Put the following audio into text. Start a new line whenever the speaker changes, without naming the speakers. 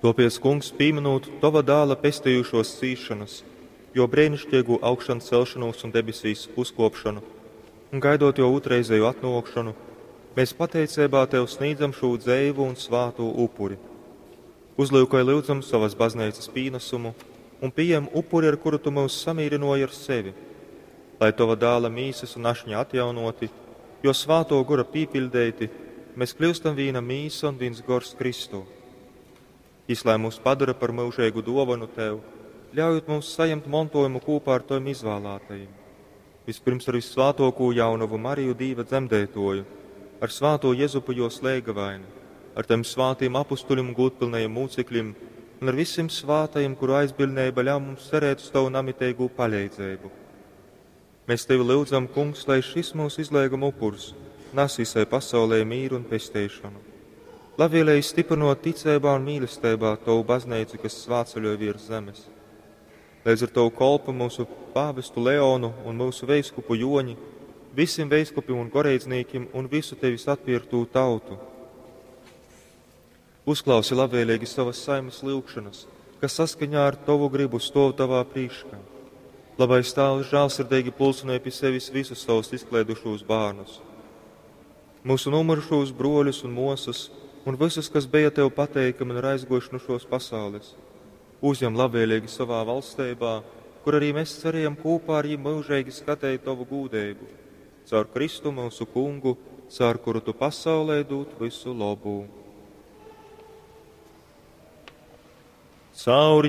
Tōpēc, Kungs, pīminūt Tova dāla pestejušos cīšanas, jo breiniškeigū augšancelšanūs un debesīs uzkōpšonu, un gaidot jō ūtrreizēju atnōkšonu, mēs pateiceibā Tev snīdzam šū dzeivu un svātū upuri. Uzlyukoj lyudzam sovas bazneicas pīnasumu un pījem upuri, ar kuru Tu myus samīrynōji ar sevi, lai Tova dāla mīsas un ašņa atjaunoti, jo svātō gora pīpiļdeiti, mēs kļūstam vīna mīsa un vīns gors Kristū. Jis lai mūs padara par myužeigu dōvanu Tev, ļaujot mums sajemt montojumu kūpā ar Tavim izvālātajim. Vispirms ar vissvātōkū jaunavu Mariju Dīva dzemdētoju, ar svātō Jezupu jos leigavaini, ar Tavim svātīm apustuļim un gūdpilnajiem mūcekļim un ar visim svātajim, kuru aizbiļneiba ļauj mums cerēt uz Tavu namiteigū paleidzeibu. Mēs Tevi lyudzam, Kungs, lai šis mūsu izleiguma upurs nes visai pasaulē mīru un pesteišanu. Labvēlīgi stiprinot ticeibā un mīlestībā Tavu baznīcu, kas svātceļoja virs zemes. Līdz ar Tavu kolpu mūsu pāvestu Leonu un mūsu veiskupu Joņi, visiem veiskupiem un goreidznīkiem un visu Tevis atpirktū tautu. Uzklausi labvēlīgi savas saimas lyugšanas, kas saskaņā ar Tavu gribu stov Tavā priekšā. Labais Tēvs žēlsirdīgi pulcināja pie sevis visus savus izklaidušos bērnus, mūsu nomurušos broļus un mosas, un visus, kas bija Tev pateikami un ir aizgojuši no šos pasaules. Uzņem labvēlīgi savā valstībā, kur arī mēs cerējam kopā ar viņiem mūžīgi skatīt Tavu gūdību. Caur Kristu mūsu kungu, caur kuru Tu pasaulē dūt visu labu. Caur